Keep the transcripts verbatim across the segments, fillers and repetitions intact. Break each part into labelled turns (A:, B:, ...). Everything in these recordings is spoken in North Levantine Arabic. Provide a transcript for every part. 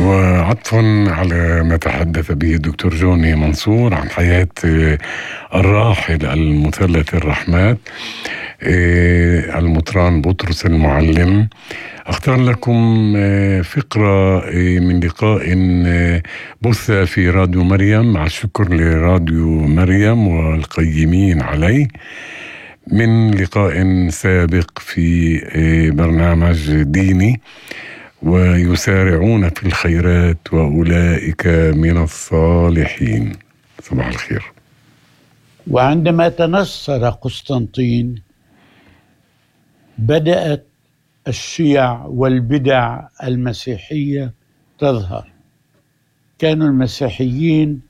A: وعطفا على ما تحدث به الدكتور جوني منصور عن حياة الراحل المثلث الرحمات المطران بطرس المعلم، أختار لكم فقرة من لقاء بث في راديو مريم، مع الشكر لراديو مريم والقيمين عليه، من لقاء سابق في برنامج ديني، ويسارعون في الخيرات وأولئك من الصالحين. صباح الخير.
B: وعندما تنصر قسطنطين بدأت الشيع والبدع المسيحية تظهر. كانوا المسيحيين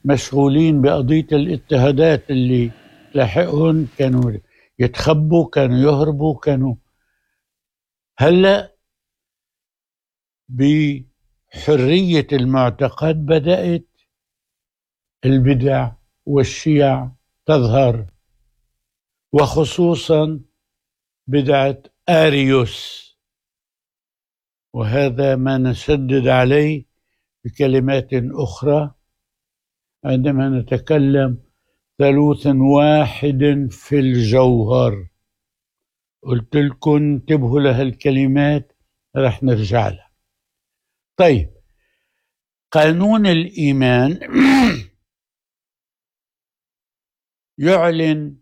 B: مشغولين بقضية الاضطهادات اللي تلاحقهم، كانوا يتخبوا، كانوا يهربوا، كانوا هلأ بحرية المعتقد بدأت البدع والشيع تظهر، وخصوصا بدعة آريوس، وهذا ما نشدد عليه بكلمات أخرى عندما نتكلم ثالوث واحد في الجوهر. قلت لكم انتبهوا لهالكلمات، رح نرجع لها. طيب، قانون الإيمان يعلن